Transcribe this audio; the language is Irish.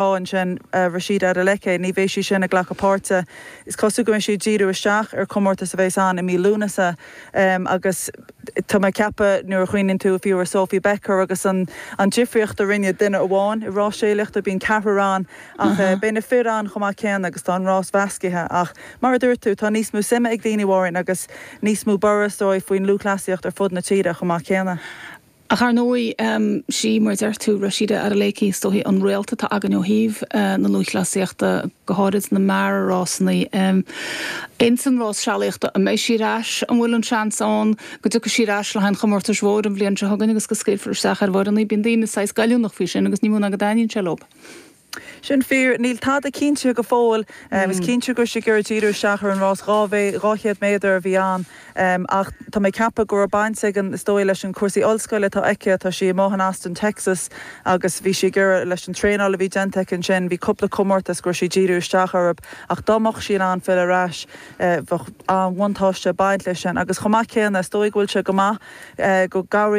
Ansin Rhasidat Adeleke, ní bheidh sí sin ag glacadh páirte. Is cosúil go mbeidh sí ag díriú isteach ar chomórtas a bheas ann i mí Lúnasa agus tá mé ag ceapadh nuair a chuimhníonn tú fiú ar Sophie Becker agus an difríocht a rinne duine amháin i rás séalaíochta, bíonn ceathrar ann ach beidh na fir ann chomh maith céanna agus tá an rás mheascaithe ach mar a dúirt tú tá níos mó suime ag daoine Mháirín agus níos mó borradh is dóigh faoin lúthchleasaíocht ar fud na tíre chomh maith céanna. Ach ar ndóigh, sí, mar a deir tú, Rhasidat Adeleke, is dóichí an réalta atá againn ó thaobh na lúthchleasaíochta, go háirid na mear-rásanna. Ins an rás sealaíochta, an mbeidh sí ar ais? An bhfuil an seans ann go dtiocfaidh sí ar ais le haghaidh an chomórtais mhóir an bhliain seo chugainn agus go scaoilfear isteach ar an bhfoireann í? Bíonn daoine saghas goilliúnach faoi sin agus ní mó ná go dtaitníonn sé leo. Sin fíor. Níl tada cinnte go fóill. Is cinnte go raibh sí ag iarraidh díriú isteach ar an rás 200 méadar a bhí ann ach tá mé ag ceapadh go raibh baint ag an, is dóigh, leis an cúrsaí ollscoile atá aici. Tá sí amuigh in Austin, Texas agus bhí sí ag iarraidh, leis an traenáil a bhí déanta aici ansin, bhí cúpla comórtas go raibh sí ag díriú isteach orthu ach dá mbeadh sí in ann filleadh ar ais bheadh an-bhuntáiste ag baint leis sin agus chomh maith céanna is dóigh go bhfuil sé go maith go gcabhraíonn.